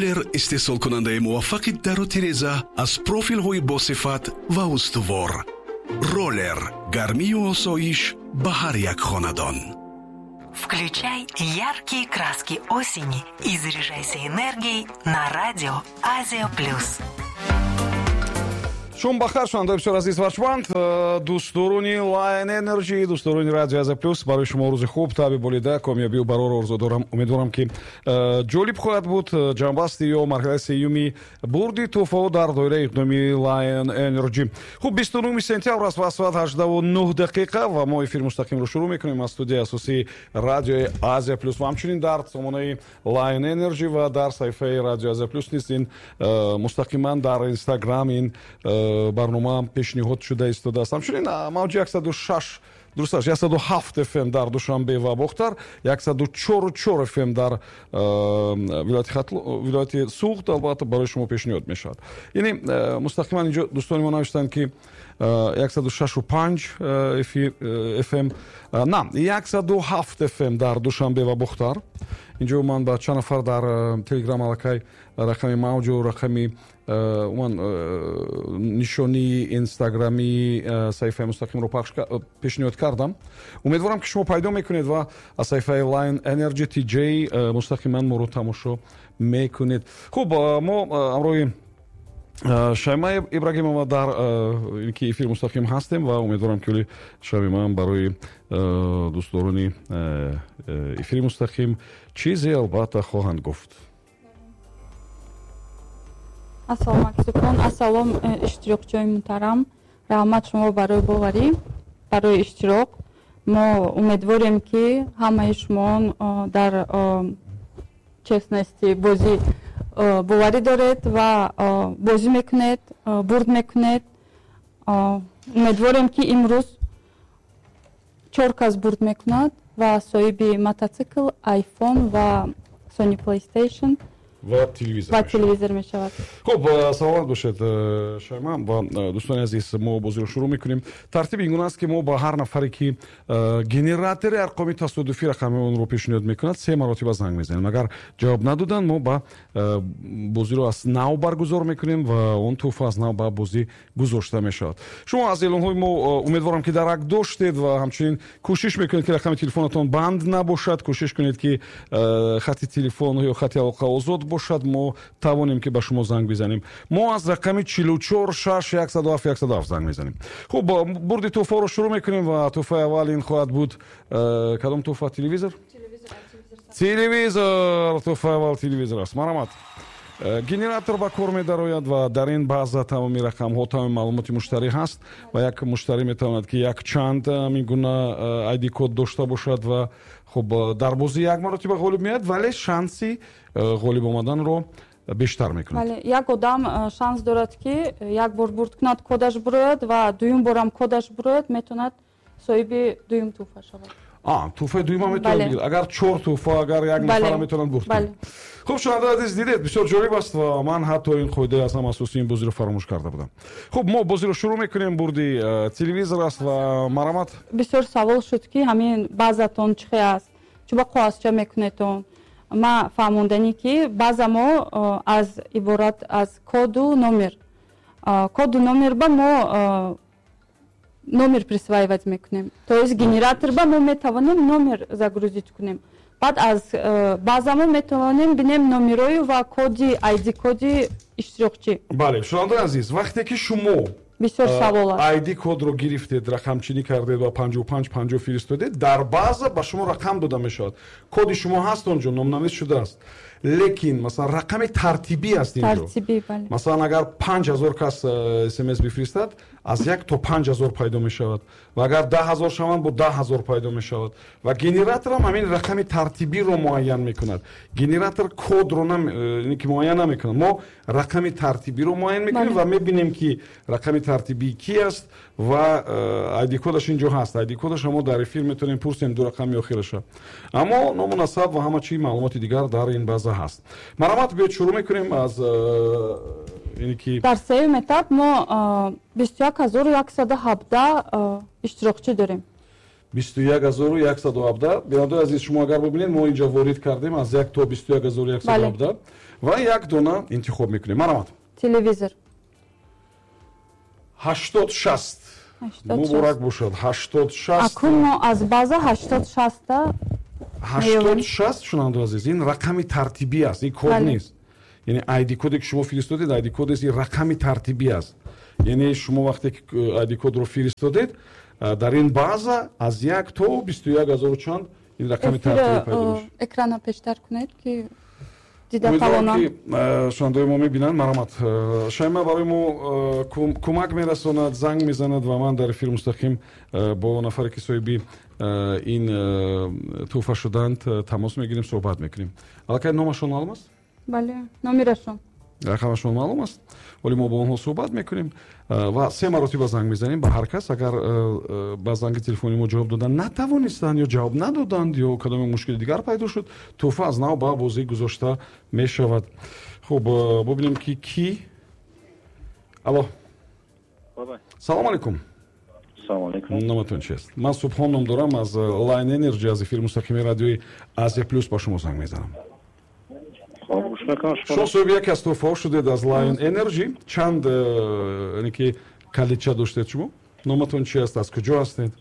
Роллер, истеҳсолкунандаи муваффақи дару тиреза аз профилҳои босифат ва устувор. Роллер, гармию осоиш ба ҳар як хонадон. Включай яркие краски осени и заряжайся энергией на радио «Азия Плюс». Шом бахайр, шунавандаи бисёр азиз, варчманд, дӯстдорони Lion Energy, дӯстдорони радио Азия Плюс. Барои шумо рӯзи хуб, таби болида, комёбию барорро орзу дорам. Умедворам, ки ҷолиб хоҳад буд ҷамъбасти ё марҳилаи сеюми бурди тӯҳфаҳо дар доираи иқдоми Lion Energy. Хуб, 29 сентябр аст ва соат 18:09 ва мо эфири мустақимро шурӯъ мекунем аз студияи асосии радиои Азия Плюс ва ҳамчунин дар сомонаи Lion Energy ва дар саҳифаи радиои Азия Плюс низ ин мустақиман дар Инстаграм ин барнома пешниҳод шуда истодааст. Ҳамчунин мавҷи 106, дуруст аст, 107 фм дар Душанбе ва Бохтар, 104,4 фм дар вилояти Суғд албатта барои шумо пешниҳод мешавад. Яъне мустақиман инҷо дӯстони мо навиштанд, ки 106,5 фм, на, 107 фм дар Душанбе ва Бохтар. Инҷо ман ба чанд нафар дар Телеграм аллакай рақами мавҷу рақами умуман нишонии инстаграмии саҳифаи мустақимро пешниҳод кардам. Умедворам, ки шумо пайдо мекунед ва аз саҳифаи Lion Energy TJ мустақиман моро тамошо мекунед. Хуб, мо ҳамроҳи Шайма Ибрагимова дар ки эфири мустақим ҳастем ва умедворам, ки оли Шаймаам барои дӯстдорони эфири мустақим чизе албатта хоҳанд гуфт. Ассалому алайкум, ассалом, иштирокчиёни муҳтарам. Раҳмат шумо барои боварӣ, барои иштирок. Мо умедворем, ки ҳамаи шумо дар честности бозӣ боварӣ доред ва бозӣ мекунед, бурд мекунед. Умедворем, ки имрӯз чор кас бурд мекунад ва соҳиби мотоцикл, айфон ва Sony PlayStation ва телевизор. Ва телевизор мешавад. Хуб, саломат бошед, Шайма. Ва дӯстони азиз, мо бозиро шурӯъ мекунем. Тартиби ин гуна аст, ки мо ба ҳар нафаре, ки генератори арқоми тасодуфӣ рақами онро пешниҳод мекунад, се маротиба занг мезанем. Агар ҷавоб надоданд, мо ба бозиро аз нав баргузор мекунем ва он тӯҳфа аз нав ба бозӣ гузошта мешавад. Шумо аз эълонҳои мо, умедворам, ки дарак доштед ва ҳамчунин кӯшиш мекунед, ки рақами телефонатон банд набошад. Кӯшиш кунед, ки хати телефон ё хати алоқа озод бошад, мо тавонем, ки ба шумо занг бизанем. Мо аз рақами 44 6 107 107 занг мезанем. Хуб, бурди тӯҳфаро шурӯъ мекунем ва тӯҳфаи аввал ин хоҳад буд кадом тӯҳфа? Телевизор, телевизор. Тӯҳфаи аввал телевизор аст. Марҳамат, генератор ба кор медарояд ва дар ин база тамоми рақамҳо, тамоми маълумоти муштарӣ ҳаст ва як муштарӣ метавонад, ки якчанд ҳамин гуна айди код дошта бошад. Ва хуб, дар бозӣ як маротиба ғолиб меояд, вале шанси ғолиб омаданро бештар мекунад. Бале, як одам шанс дорад, ки як бор бурд кунад, кодаш бурояд ва дуюм борам кодаш бурояд, метавонад соҳиби дуюм тӯҳфа шавад. Тӯҳфаи дуюма метавонад бигирад. Агар чор тӯҳфа, агар як нафара метавонад бурд кунад. Хуб, шунавандаи азиз, дидед, бисёр ҷолиб аст ва ман ҳатто ин қоидаи аз ҳама асосии ин бозиро фаромӯш карда будам. Хуб, мо бозиро шурӯъ мекунем. Бурди телевизор аст ва марҳамат. Бисёр савол шуд, ки ҳамин базатон чӣ хел аст, чӣ ба коғазча мекунедон. Ма фаҳмонданӣ, ки база мо аз иборат аз коду номер. Коду номер ба мо номер присваивать мекунем, то есть генератор ба мо метавонем номер загрузить кунем. Баъд аз база мо метавонем бинем номерою ва коди, айди коди иштирокчӣ. Бале, шунавандаи азиз, вақте ки шумо Бисёр савол аст. Айди кодро гирифтед, рақамчинӣ кардед ва 55 50 фиристодед, дар база ба шумо рақам дода мешавад. Коди шумо ҳаст, он ҷо номнавис шудааст, лекин масалан рақами тартибӣ аст инҷо. Тартибӣ, бале. Масалан, агар 5000 кас смс бифиристад, аз 1 то 5000 пайдо мешавад ва агар 10 000 шаванд, бо 10 000 пайдо мешавад. Ва генераторам ҳамин рақами тартибиро муайян мекунад. Генератор кодро ки муайян намекунад. Мо рақами тартибиро муайян мекунем ва мебинем, ки рақами тартибӣ ки аст ва айди кодаш инҷо ҳаст. Айди кодаша мо дар эфир метавонем пурсем, ду рақами охираша, аммо ному насаб ва ҳама чи маълумоти дигар дар ин база ҳаст. Марҳамат, биёед, шурӯъ мекунем аз ине ки Дар сеюм этап мо 21 117 иштирокчӣ дорем. 21117. Бинандаои азиз, шумо агар бубинед, мо инҷа ворид кардем аз 1 то 21117 ва як дона интихоб мекунем. Марҳамат. Телевизор. 8060. Муборак бошад. 8060. Акун мо аз база 8060-та. 8060, шунавандаои азиз, ин рақами тартибӣ аст, ин код нест. Яъне ID коде ки шумо фиристодед, ID код нест, ин рақами тартибӣ аст. Яъне шумо вақте ки ID кодро фиристодед, дар ин база аз 1 то 21 ҳазору чанд ин рақами тартибӣ пайдо мешавад. Экрана пештар кунед, ки дида тавонам. Ки шунавандаои мо мебинанд. Марҳамат, Шайма барои мо кӯмак мерасонад, занг мезанад ва ман дар эфир мустақим бо нафаре ки соҳиби ин тӯҳфа шуданд тамос мегирем, суҳбат мекунем. Аллакай номашон маълум аст? Бале, номерашон. Рақамашон маълум аст. Вале мо бо онҳо суҳбат мекунем ва се маротиба занг мезанем ба ҳар кас. Агар ба занги телефони мо ҷавоб додан натавонистанд ё ҷавоб надоданд ё кадоме мушкили дигар пайдо шуд, тӯҳфа аз нав ба бозӣ гузошта мешавад. Хуб, бубинем ки ки. Алло. Салом алейкум. Салом алейкум. Номатон чист? Ман Субҳон ном дорам, аз Line Energy, аз эфири мустақими радиои Азия Плюс ба шумо занг мезанам. Шумо соҳиби яке аз тӯҳфаҳо шудед аз Lion Energy. Чанд ки калидча доштед шумо? Номатон чи аст? Аз куҷо ҳастед?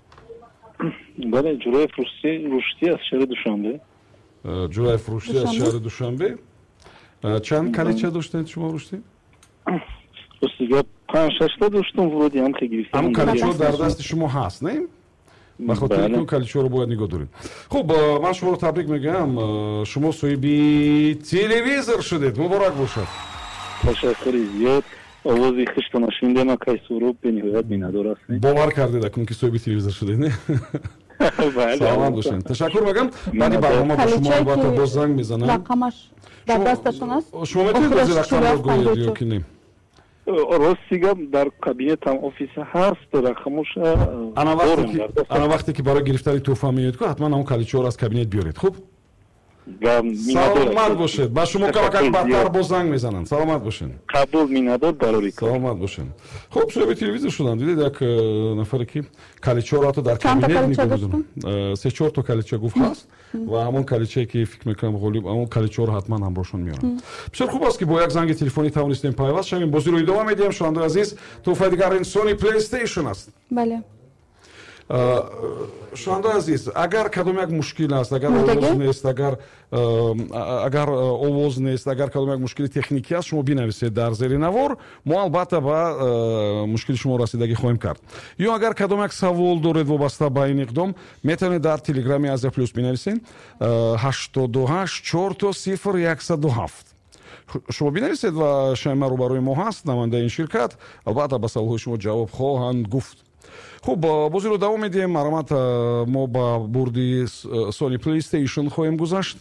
Бале, Ҷураев Рушдӣ аз шаҳри Душанбе. Ҷураев Рушдӣ аз шаҳри Душанбе. Чанд калидча доштед шумо, Рушдӣ? Рости гап, 5-6 та доштум, вроде ҳам гирифтам. Ҳамон калидчаҳо дар дасти шумо ҳаст, не? Ба хотири ки калидчаҳоро бояд нигоҳ доред. Хуб, ман шуморо табрик мегӯям, шумо соҳиби телевизор шудед. Муборак бошад. Ташаккури зиёд. Овози хуштона шунидем, акай Суҳроб, бениҳоят миннатдор ҳастем. Бовар кардед акун ки соҳиби телевизор шудед, не? Саломат бошед. Ташаккур мегӯям. Баъди барнома ба шумо албатта боз занг мезанам. Рақамаш дар дасташон аст. Шумо метавонед ози рақамро гӯед ё ки не? Рости гап, дар кабинетам офиса ҳаст, рақамоша. Ана вақте ки барои гирифтани тӯҳфа меоед, ку ҳатман ҳамон калидчаҳоро аз кабинет биёред. Хуб, саломат бошед. Ба шумо камакак бадтар боз занг мезананд. Саломат бошед. Қабул, миннатдор, барори кор. Саломат бошед. Хуб, соҳиби телевизор шудам. Дидед, як нафаре ки калидчаҳоро ҳатто дар кабинет нигоҳ медорад. 3-4 то калидча гуфт ҳаст ва ҳамон калидчае ки фикр мекунам ғолиб, ҳамон калидчаҳоро ҳатман ҳамроҳшон меоранд. Бисёр хуб аст ки бо як занги телефонӣ тавонистем пайваст шавем. Бозиро идома медиҳем, шунавандаи азиз. Тӯҳфаи дигар ин Sony PlayStation аст. Бале. Шунавандаи азиз, агар кадом як мушкил аст, агар овоз нест, агар овоз нест, агар кадом як мушкили техникӣ аст, шумо бинависед дар зери навор, мо албатта ба мушкили шумо расидагӣ хоҳем кард. Ё агар кадом як савол доред вобаста ба ин иқдом, метавонед дар телеграми Азия Плюс бинависед 828 4 0 107. Шумо бинависед ва Шайма рӯбарӯи мо ҳаст, намояндаи ин ширкат, албатта ба саволҳои шумо ҷавоб хоҳанд гуфт. Хуб, бозиро давом медиҳем. Марҳамат, мо ба бурди Sony PlayStation хоҳем гузашт,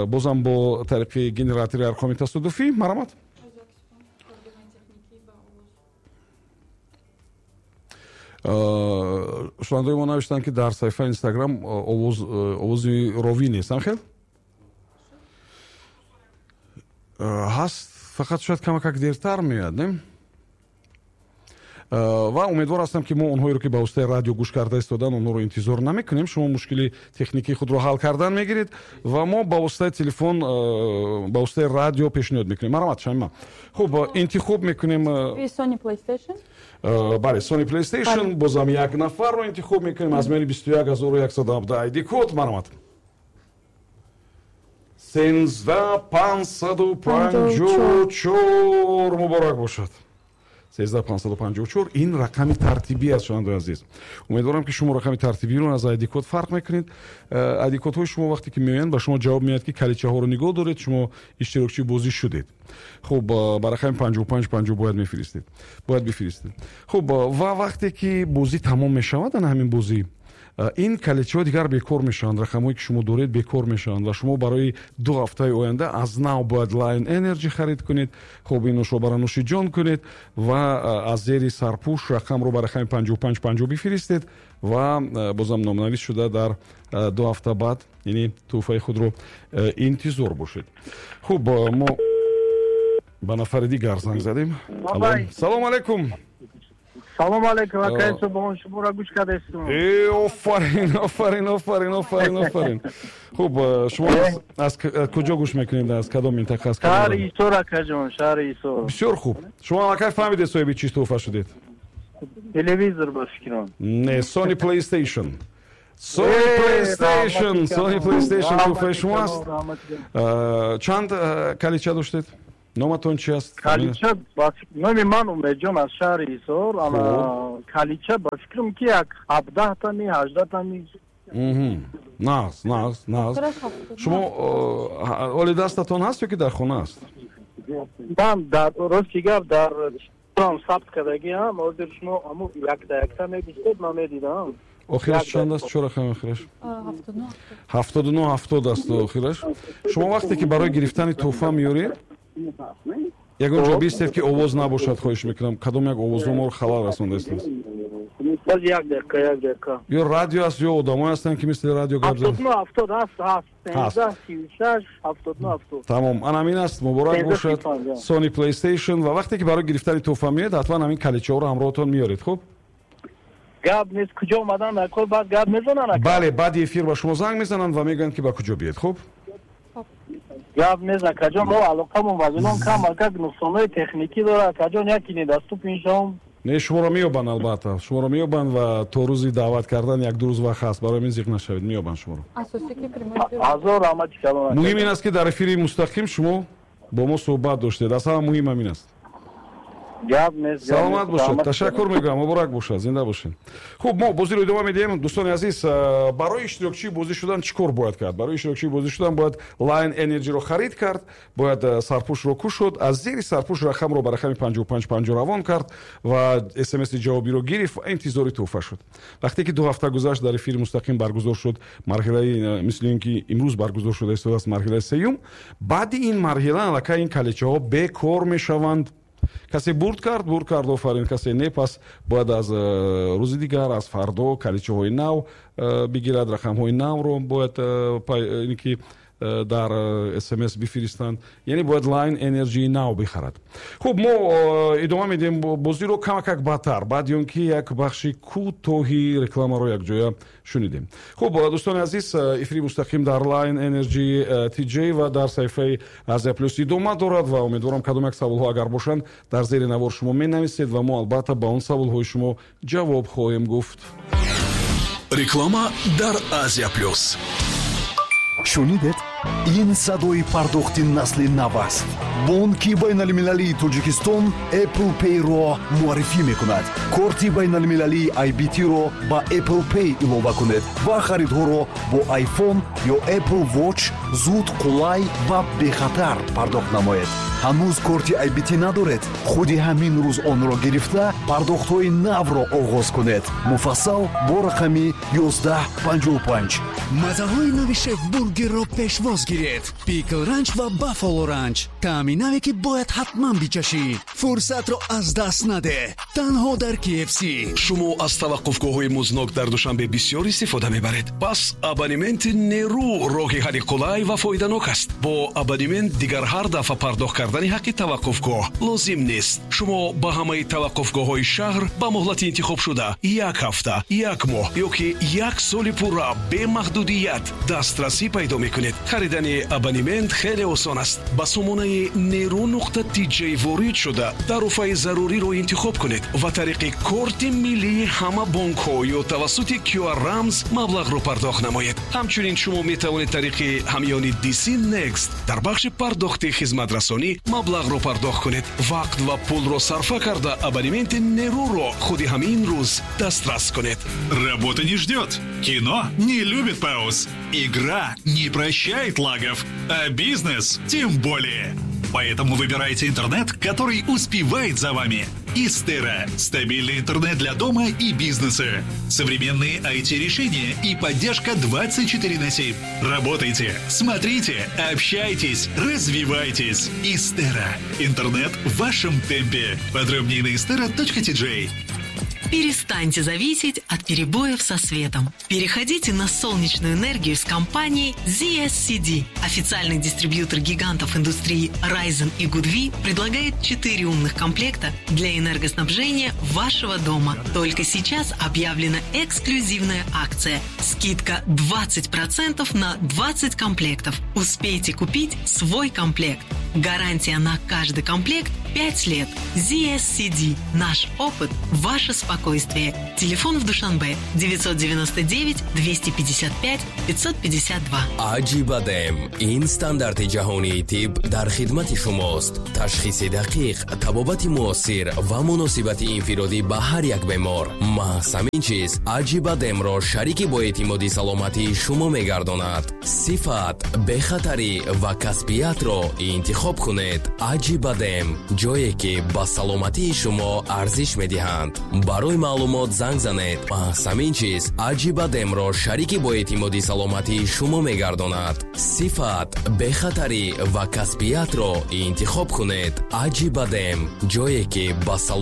бозам бо тариқи генератори арқоми тасодуфӣ. Марҳамат. Шунавандаои мо навиштанд, ки дар саҳифаи Инстаграм овози ровӣ нест. Ҳам хел ҳаст, фақат шояд камакак дертар меояд, не? Ва умедвор ҳастам, ки мо онҳоеро ки ба воситаи радио гӯш карда истодан, онҳоро интизор намекунем. Шумо мушкили техникии худро ҳал кардан мегиред ва мо ба воситаи телефон, ба воситаи радио пешниҳод мекунем. Марҳамат, Шамима. Хуб, интихоб мекунем. Sony PlayStation. Бале, Sony PlayStation. Бозам як нафарро интихоб мекунем аз миёни 21117 ID код. Марҳамат. 13554. Муборак бошад. 13554 ин рақами тартибӣ аст, шунавандаои азиз. Умедворам, ки шумо рақами тартибиро аз ID код фарқ мекунед. ID кодҳои шумо вақте ки меоянд, ба шумо ҷавоб меояд, ки калидчаҳоро нигоҳ доред, шумо иштирокчии бозӣ шудед. Хуб, ба рақами 5550 бояд мефиристед, бояд бифиристед. Хуб, ва вақте ки бозӣ тамом мешавад, ана ҳамин бозӣ, ин калидчаҳо дигар бекор мешаванд, рақамҳое ки шумо доред бекор мешаванд ва шумо барои 2 ҳафтаи оянда аз нав бояд Lion Energy харид кунед. Хуб, ин нӯшобаро нӯшиҷон кунед ва аз зери сарпӯш рақамро ба рақами 5550 бифиристед ва бозам номнавис шуда дар 2 ҳафта баъд, яъне тӯҳфаи худро интизор бошед. Хуб, мо ба нафари дигар занг задем. Салом алейкум. Салом алейкум, акай Субҳон, шуморо гӯш кардастум. Э, офарин, офарин, офарин, офарин, офарин. Хуб, шумо аз куҷо гӯш мекунед, аз кадом минтақа, аз Шаҳри Ҳисор, акаҷон, шаҳри Ҳисор. Бисёр хуб. Шумо аллакай фаҳмидед, соҳиби чӣ тӯҳфа шудед? Телевизор, ба фикрам. Не, Sony PlayStation. Sony PlayStation, Sony PlayStation тӯҳфаи шумо аст. Чанд калидча доштед? Номатон чи аст? Калидча, номи ман Умедҷон, аз шаҳри Ҳисор. Калидча, ба фикрам, ки як 17-тами, 18-тами. Нағз, нағз, нағз. Шумо оли дастатон ҳаст ё ки дар хона аст? Ман дар, рости гап, дар сабт кардагиам. Ҳозир шумо ҳаму якта якта мегуфтед, ман медидам. Охираш чанд аст? Чо рақами охираш? 79 70 аст охираш. Шумо вақте ки барои гирифтани тӯҳфа меёред, ягон ҷо бистед, ки овоз набошад, хоҳиш мекунам. Кадом як овозҳо моро халал расондааст. Боз як дақиқа, як дақиқа. Ё радио аст, ё одамое ҳастанд, ки мисли радио гап. 79 70 ҳаст, ҳаст, 13 36 79 70. Тамом, ан ҳамин аст. Муборак бошад, Sony PlayStation. Ва вақте ки барои гирифтани тӯҳфа меоед, ҳатман ҳамин калидчаҳоро ҳамроҳатон меоред, хуб? Гап нест. Куҷо омадан накор, баъд гап мезананд? Бале, баъди эфир ба шумо занг мезананд ва мегӯянд, ки ба куҷо биед, хуб? Гап нест, акаҷон. Мо алоқамон вазилон кам, акак нуқсонҳои техникӣ дорад, акаҷон, яки недоступен шом. Не, шуморо меёбанд, албатта, шуморо меёбанд ва то рӯзи даъват кардан як-ду рӯз вақт ҳаст. Барои мин зиқ нашавед, меёбанд шуморо. Ҳазор раҳмати калон. Муҳим ин аст, ки дар эфири мустақим шумо бо мо суҳбат доштед. Аз ҳама муҳим ҳамин аст. Гап нест. Саломат бошед, ташаккур мегӯям, муборак бошад, зинда бошед. Хуб, мо бозиро идома медиҳем. Дӯстони азиз, барои иштирокчии бозӣ шудан чӣ кор бояд кард? Барои иштирокчии бозӣ шудан бояд Line Energy-ро харид кард, бояд сарпӯшро кушод, аз зери сарпӯш рақамро ба рақами 5550 равон кард ва смси ҷавобиро гирифт ва интизори тӯҳфа шуд. Вақте ки 2 ҳафта гузашт, дар эфири мустақим баргузор шуд марҳилаи, мисли ин ки имрӯз баргузор шуда истодааст, марҳилаи сеюм. Баъди ин марҳила аллакай ин калидчаҳо бекор мешаванд. Касе бурд кард, бурд кард, офарин, касе не, пас бояд аз рӯзи дигар, аз фардо калидчаҳои нав бигирад, рақамҳои навро бояд ин ки дар смс бифиристанд, яъне бояд Line Energy нав бихарад. Хуб, мо идома медиҳем бозиро камакак баъдтар, баъди он ки як бахши кӯтоҳи рекламаро якҷоя шунидем. Хуб, дӯстони азиз, эфири мустақим дар Line Energy TJ ва дар саҳифаи Азия Плюс идома дорад ва умедворам, кадом як саволҳо агар бошанд, дар зери навор шумо менависед ва мо албатта ба он саволҳои шумо ҷавоб хоҳем гуфт. Реклама дар Азия Плюс. Шунидед? Ин садои пардохти насли нав аст. Бонки байналмилалии Тоҷикистон Apple Pay-ро муаррифӣ мекунад. Корти байналмилалии IBT-ро ба Apple Pay илова кунед ва харидҳоро бо iPhone ё Apple Watch зуд, қулай ва бехатар пардохт намоед. Ҳанӯз корти IBT надоред? Худи ҳамин рӯз онро гирифта, пардохтҳои навро оғоз кунед. Муфассал бо рақами 1155. Маззаҳои нави Шеф Бургерро пешвоз гиред: Пикл Ранч ва Баффало Ранч. Таъми наве, ки бояд ҳатман бичашӣ. Фурсатро аз даст надеҳ, танҳо дар KFC. Шумо аз таваққуфгоҳҳои музднок дар Душанбе бисёр истифода мебаред? Пас абонементи Нерӯ роҳи ҳалли қулай ва фоиданок аст. Бо абонемент дигар ҳар дафъа пардохт кардани ҳаққи таваққуфгоҳ лозим нест. Шумо ба ҳамаи таваққуфгоҳҳои шаҳр ба муҳлати интихобшуда, як ҳафта, як моҳ ё ки як соли пурра, бемаҳдудият дастрасӣ пайдо мекунед. Харидани абонемент хеле осон аст. Ба сомонаи нерӯ нуқта тиҷ ворид шуда, тарофаи заруриро интихоб кунед ва тариқи корти миллии ҳама бонкҳо ё тавассути QR рамз маблағро пардохт намоед. Ҳамчунин шумо метавонед тариқи ҳамёни DC Next дар бахши пардохти хизматрасонӣ маблағро пардохт кунед. Вақт ва пулро сарфа карда, абонементи Нерӯро худи ҳамин рӯз дастрас кунед. Работа не ждет. Кино не любит пауз. Игра не прощает лагов. А бизнес тем более. Поэтому выбирайте интернет, который успевает за вами. Истера. Стабильный интернет для дома и бизнеса. Современные IT-решения и поддержка 24 на 7. Работайте, смотрите, общайтесь, развивайтесь. Истера. Интернет в вашем темпе. Подробнее на istera.tj. Перестаньте зависеть от перебоев со светом. Переходите на солнечную энергию с компанией ZSCD. Официальный дистрибьютор гигантов индустрии Risen и Goodwe предлагает 4 умных комплекта для энергоснабжения вашего дома. Только сейчас объявлена эксклюзивная акция. Скидка 20% на 20 комплектов. Успейте купить свой комплект. Гарантия на каждый комплект 5 лет. ZSCD. Наш опыт – ваше спокойствие. Телефон в Душанбе 999 255 552. Аҷибадем ин стандарти ҷаҳонии тиб дар хидмати шумост. Ташхиси дақиқ, табобати муосир ва муносибати инфиродӣ ба ҳар як бемор. Маҳз ҳамин чиз Аҷибадемро шарики боэътимоди саломатии шумо мегардонад. Сифат, бехатарӣ ва касбиятро интихоб кунед. Аҷибадем, ҷое ки ба саломатии шумо арзиш медиҳанд. Барои маълумот занг занед. Маҳз ҳамин чиз Аҷибадемро шарики боэътимоди саломатии шумо мегардонад. Сифат, бехатарӣ ва касбиятро интихоб кунед. Аҷибадем, ҷое ки ба салом